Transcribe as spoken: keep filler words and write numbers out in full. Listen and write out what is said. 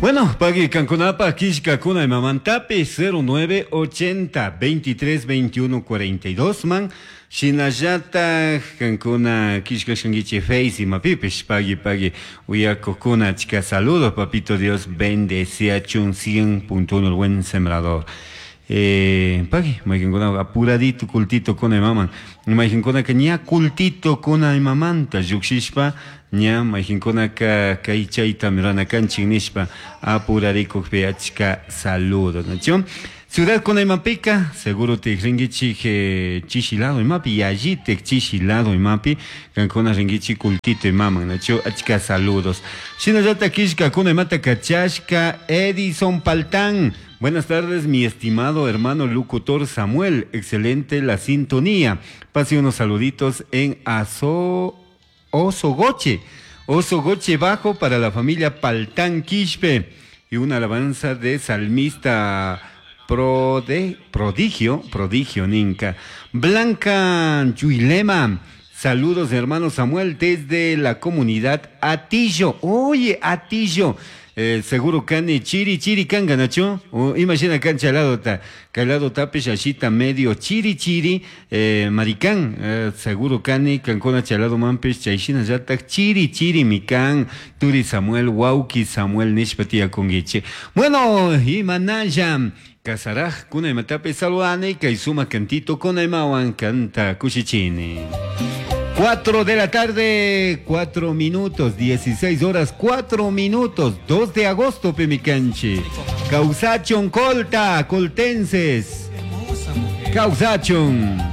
Bueno, pagui kankunapaj killkakuna imamantapi cero nueve ochenta veintitrés veintiuno cuarenta y dos man shinallataj kankuna killkashankichik Face imapipish pagui pagui uyakukuna achka saludos papito Dios bendeciachun cien punto uno el buen sembrador. Eh, pagui, mayqinkuna apuradito cultito kuna imaman mayqinkunaka ña cultito kuna imamanta llukshishpa ña mayqinkunaka kay chayta rurana kanchik nishpa apurarikukpi achka saludos, ¿no? Ciudad kuna imapika seguro tikrinkichik, eh, chishilado imapi yallitik chishilado imapi kankuna rinkichik cultito imaman, ¿no? Achka saludos. Shinallata killka kuna imata kachashka Edison Paltán. Buenas tardes, mi estimado hermano locutor Samuel. Excelente la sintonía. Pase unos saluditos en Aso, Osogoche. Osogoche Bajo para la familia Paltán Quispe. Y una alabanza de salmista prode, prodigio, prodigio Ninca. Blanca Yuilema. Saludos, hermano Samuel, desde la comunidad Atillo. Oye, Atillo. Eh, seguro cani chiri chiri kanga nacho o imagina cancha lado ta calado tape shashita medio chiri chiri, eh, maricán, eh, seguro cani cancona chalado mampes chaishina yatak chiri chiri mikan turi Samuel wauki Samuel nishpatia conguiche. Bueno, y manaya casaraj kuna imatape saludane kaisuma cantito kuna imawan canta kushichini. Cuatro de la tarde, cuatro minutos, dieciséis horas, cuatro minutos, dos de agosto, Pemicanchi. Causachon Colta, coltenses. Causachon.